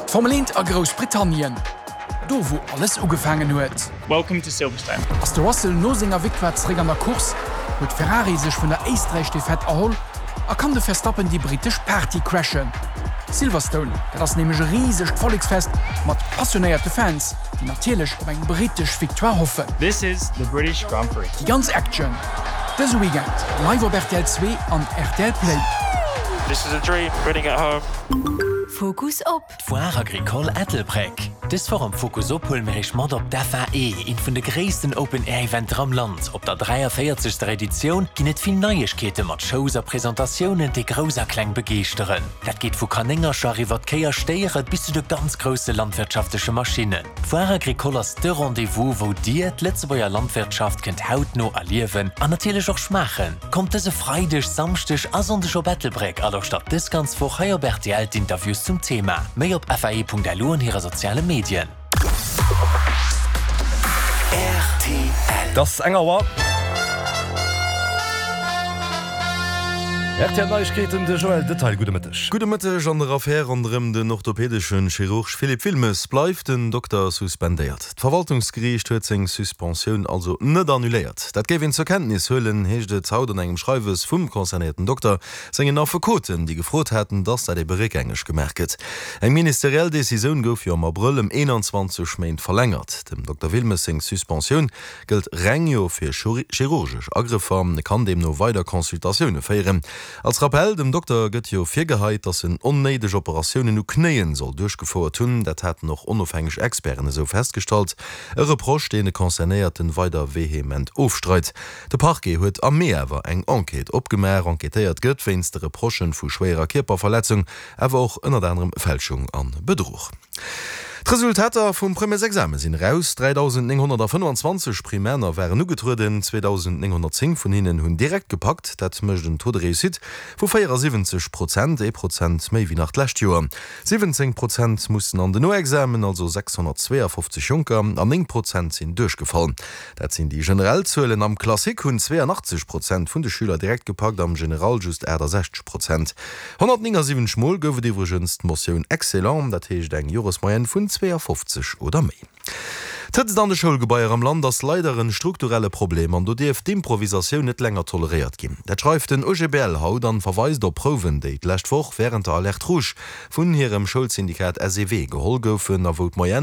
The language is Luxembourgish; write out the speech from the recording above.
D'Formel 1 a Groussbritannien, do wou alles ugefaangen huet. Welcome to Silverstone. Ass de Russell no senger Victoire zeréck an der Course, huet Ferrari sech vun der Éisträich-Defaite erholl a kann de Verstappen déi brittesch Party crashen. Silverstone, dat ass nämlech e risegt Volleksfest mat passionéierte Fans, déi natierlech op eng brittesch Victoire hoffen. This is the British Grand Prix. Déi ganz Action dëse Weekend live op rtl 2 an rtl Play. This is a dream, winning at home. Fokus op. D'Foire Agricole Ettelbréck. Dës Woch am Fokus op huele mir iech mat op d'FAE, eent vun de gréissten Open Air Eventer am Land. Op der 43. Editioun ginn et vill Neiegkeete mat Shows a Presentatiounen, déi Grouss a Kleng begeeschteren. Dat geet vu Kanéngercher iwwert Kéi a Stéiere bis zu de ganz grousse landwirtschaftleche Maschinnen. D'Foire Agricole ass de Rendez-vous, wou Dir d'Lëtzebuerger Landwirtschaft kënnt hautno erliewen an natierlech och schmaachen. Kommt dëse Freideg, Samschdeg a Sonndeg op Ettelbréck a lauschtert dës ganz Woch hei op rtl d'Interviews zum Thema. Méi op fae.lu an hire soziale Medien. Et ass eng Auer. Rtl Neiegkeeten, de Joël Detaille. Gudde Mëtteg. Gudde Mëtteg. An der Affär ronderëm den orthopedeschen Chirurg Philippe Wilmes bleift den Dokter suspendéiert. D'Verwaltungsgeriicht huet seng Suspensioun also net annuléiert. Dat géif een zur Kenntnis huelen, heescht et haut an engem Schreiwes vum concernéierten Dokter sengen Affekoten, déi gefrot haten, datt dat ebe réckgängeg gemaach gëtt. Eng ministeriell Decisioun gouf jo am Abrëll ëm 21 Méint verlängert. Dem Dokter Wilmes seng Suspensioun gëllt reng jo fir chirurgesch Agrëffer, e kann deemno weider Consultatioune féieren. Als Rappell, dem Dokter gëtt jo virgeheit, datt en onnéideg Operatiounen u Knéien soll duerchgefouert hunn. Dat haten och onofhängeg Experten esou festgestallt. E Reproche, deen de Concernéierten weider vehement ofstreit. De Parquet huet am Mee awer eng Enquête opgemaach. Enquêtéiert gëtt wéinst de Reprochen vu schwéierer Kierperverletzung, awer och ënnert anerem Fälschung an Bedruch. D'Resultater vum Premièresexame sinn eraus, 3.925 Primäner waren ugetrueden, 2.910 vun hinnen hunn direkt gepackt. Dat mécht en Taux de réussite vu 74 Prozent, ee Prozent méi wéi nach d'lescht Joer. 17 Prozent mussen an den Noexamen, also 652 Jonker, an 9 Prozent sinn duerchgefall. Dat sinn déi generell Zuelen. Am Classique hunn 82 Prozent vun de Schüler direkt gepackt, am General just 68 Prozent. 179 Mol gouf et iwwregens d'Motioun Excellent, dat heescht eng Joresmoyenne vun 52 oder méi. D'Hëtzt an de Schoulgebaier am Land ass leider en strukturelle Problem an do dierf d'Improvisatioun net länger toleréiert ginn. Dat schreift den OGBL haut an verweist op Prouwen, déi d'lescht Woch wärend der Alerte rouge vun hirem Schoulsyndikat SEW geholl goufen a wou d'Moyenne.